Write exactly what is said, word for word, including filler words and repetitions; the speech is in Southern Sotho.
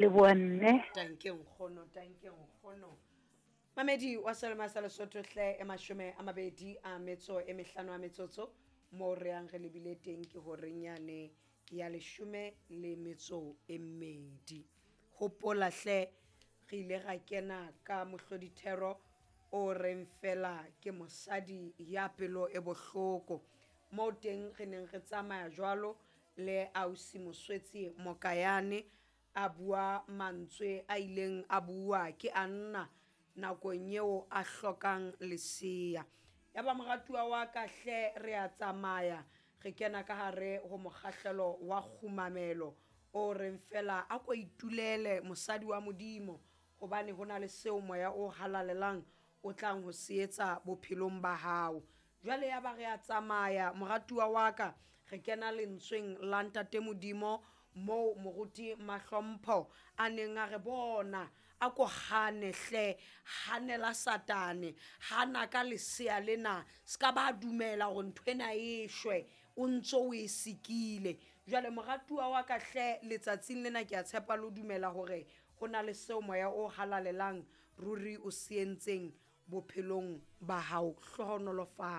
Leboha mme. Tanke nkgono, tanke nkgono. Mamedi wa Selema sa Lesotho hle, e mashome a mabedi a metso e mehlano a metsotso mo re yang re lebile teng ke horeng yane ya leshome le metso e mmedi. Hopola hle, re ile ra kena ka mohlodithero o reng fela ke mosadi ya pelo e bohloko. Moo teng re neng re tsamaya jwalo le ausi Moswetsi Mokayane a bua mantswe a ileng a bua ke Anna nakong eo a hlokang lesea. Ya ba moratuwa wa ka hle, re a tsamaya re kena ka hare ho mokgahlelo wa kgumamelo o reng fela a ko itulele mosadi wa Modimo, hobane ho na le seo moya o halalelang o tlang ho se etsa bophelong ba hao. Jwale ya ba re a tsamaya moratuwa wa ka, re kena lentsweng la Ntate Modimo moo moruti Mahlompho a neng a re bona a ko hane hle, hanela Satane, hana ka lesea lena, ska ba dumela hore nthwena e shwe o ntso o e sikile. Jwale moratuwa wa ka hle, letsatsing lena ke a tshepa le ho dumela hore ho na le seo moya o halalelang ruri o se entseng bophelong ba hao. Hlohonolofatso.